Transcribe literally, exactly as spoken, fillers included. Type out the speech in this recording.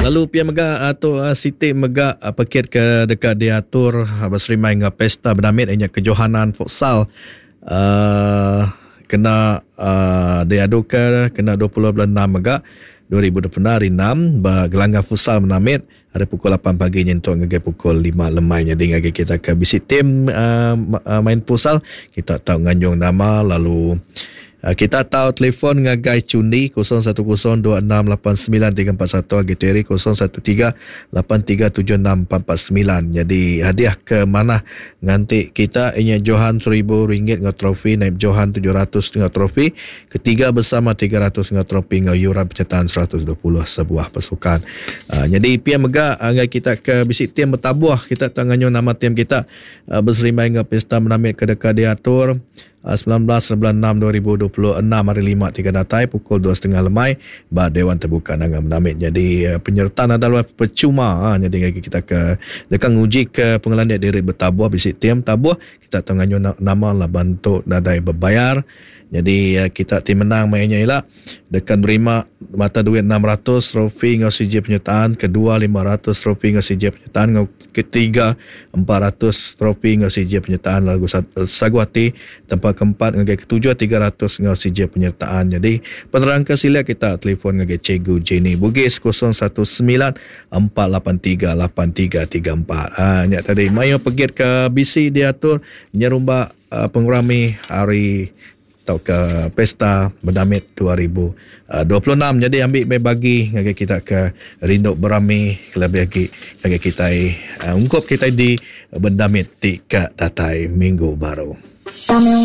Lalu pia mega atau uh, Siti mega uh, pekit ke dekat diatur uh, berserimai dengan pesta bernamit ianya kejohanan futsal uh, kena uh, diadukan kena dua puluh bulan enam mega dua ribu dua puluh hari enam ba gelanggang futsal Menamit hari pukul lapan pagi nyentuk ngagai pukul lima lemai. Jadi ngagai kita ke bisi tim uh, main futsal kita tahu nganjung nama lalu uh, kita tahu telefon ngagai Cundi kosong satu kosong dua enam lapan sembilan tiga empat satu G T R kosong satu tiga lapan tiga tujuh enam empat empat sembilan. Jadi hadiah ke mana nganti kita inya Johan seribu ringgit ngau trofi, naib Johan tujuh ratus ngau trofi, ketiga bersama tiga ratus ngau trofi ngau yuran penyertaan seratus dua puluh sebuah pasukan. Uh, jadi pia mega ngai kita ke bisi tim bertabuh kita tanganyo nama tim kita uh, berserimai ngau pesta menamit ke dekat diatur sembilan belas bulan enam dua ribu dua puluh enam hari lima tiga datai pukul dua setengah lemai ba Dewan Terbuka Nanga Menamit. Jadi penyertaan adalah percuma. Ha, jadi kita ke dekat nguji ke pengelandik diri bertabuh bisi tim tabuh kita tanganyo nama lah bantu nadai berbayar. Jadi kita tim menang mainnya ialah dekat nerima mata duit enam ratus trofi ngau C J penyertaan, kedua lima ratus trofi ngau C J penyertaan, ngau ketiga empat ratus trofi ngau C J penyertaan lagu Saguati, tempat keempat ngau ketujuh tiga ratus ngau C J penyertaan. Jadi penerang ke sila kita telefon ngau Cikgu Jenny Bugis kosong satu sembilan empat lapan tiga lapan tiga tiga empat. Ah nyak tadi mayo pergi ke B C diatur nyerumba uh, pengurami hari atau ke pesta Bernamit dua ribu dua puluh enam. Jadi ambil mai bagi ngagai kita ke rindu berami lebih lagi ngagai kita uh, ungkup kita di Bernamit tika datai minggu baru.